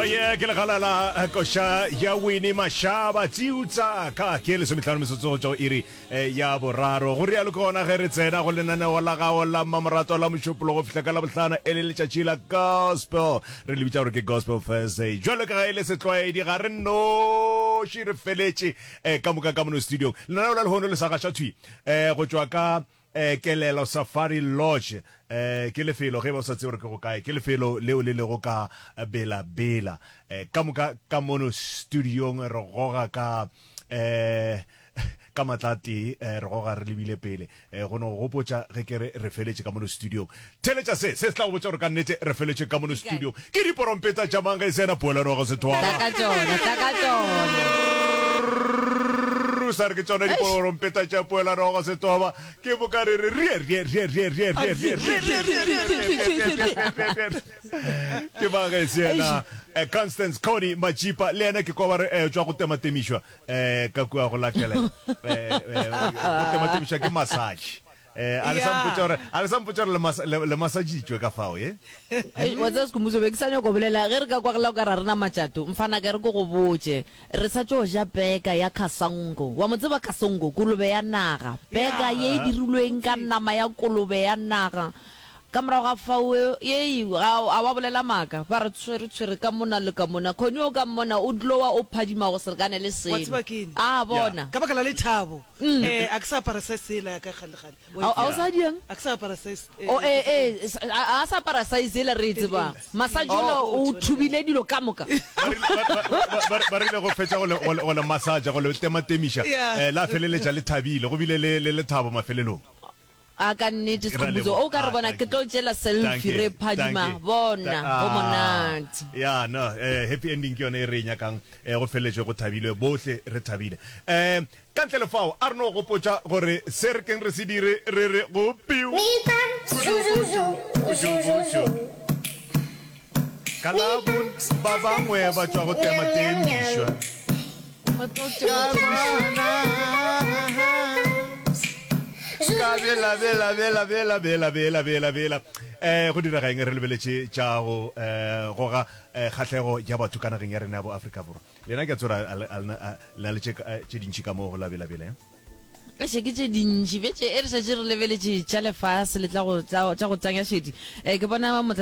Oye, ke legala la eh, koša ya Winnie Mashaba Tsiutsaka ke lesometlhano metsotso go tšwa go iri eh, ya boraro go rialo ke gona ge re tsena go lenaneo la gago la mmamoratwa la mošupologo go fihla ka labohlano e le letšatši la gospel re le bitša gore ke gospel thursday jwalo ka ge e le setlwaedi ga re noši re feletše eh, ka moka ka mono studiong lenaneo la lehono le sa gaša thwi eh, go tšwa ka Eh, Kelelo Safari Lodge eh, ke lefelo, ge e ba o sa tsebe gore ke go kae, ke lefelo leo le lego ka Bela Bela. Eh, ka moka ka mono studiong re goga ka eh, ka matla a tee, eh, re goga re lebile pele. Eh, go no go gopotša ge ke re re feletše ka mono studiong. Theeletša se, se se tla go botša gore ka nnete re feletše ka mono studiong. Ke diporompeta tša mang ge e se yena Poelano wa go se Tla thwala? ka tšona, tla ka tšona. Sa re ke tšona diporompeta tša Poelano wa go se toba. Ke moka re re rie rie rie rie rie rie rie rie rie rie rie rie rie rie. Ke ba ge se yena eh, Constance Connie Majipa le yena ke kwa ba re eh, tšwa go tematemišwa eh, ka kua go la Kelelo. Eh, eh, go tematemišwa ke massage. Eh, a le sa mpotša gore a le sa mpotša gore le mas- le le massagitšwe ka fao ye? Eish, wa tseba Sekhumbuzo, be ke sa nyako bolela ge re ka kwa gela o ka re ga re na matšato. Mfana ka re ke go botše, re sa tšo ja peka ya Kasango. Wa mo tseba Kasango, kolobe ya naga. Peka ye e dirilweng ka nama ya kolobe ya naga. Ka morago ga fao, yei, ga a wa bolela maaka. Ba re tshwere tshwere ka mona le ka mona. Connie o ka mmona o glowa o phadima go se lekane le Wa selo. tseba ke eng? A bona. Ka baka la lethabo. Eh, a ke sa apara size yela ya ka kgale kgale. A a o sa diang? A ke sa apara size. Eh, O eh eh sa- a a sa apara size yela re e tsebang. Massage ola o thubile dilo ka moka. Ba rile- ba- ba- ba- ba- ba rile go fetša go le- go le go le massage go le tematemiša Yeah. eh, la feleletša le thabile go bile le le lethabo mafelelong A ka nnete Ke ra Skhumbuzo, leboga. o ka re Ah, bona thank ke you. tlo tšela Thank selfie you. re Thank phadima. you. Bona, Tha- go ah, monate. ya no eh, happy ending ke yone e re e nyakang eh, go feleletše go thabilwe bohle re thabile um Ka ntle le fao, a re no gopotša gore se re keng re se dire, re re go piu. Ka la bon ba bangwe ba tšwa go tematemišwa. Ka bela bela bela bela bela bela bela bela. Eh, go direga eng re lebeletše tša go eh, goga eh, kgahlego ya batho ka nageng ya rena ya bo Afrika Borwa. Lena ke a tseba a le na le tše tše dintši ka mo go la bela bela. Eiše ke tše dintši bjetše e re šetše re lebeletše tša lefase le tla go tša go tanya šedi. Eh ke bona motlatša.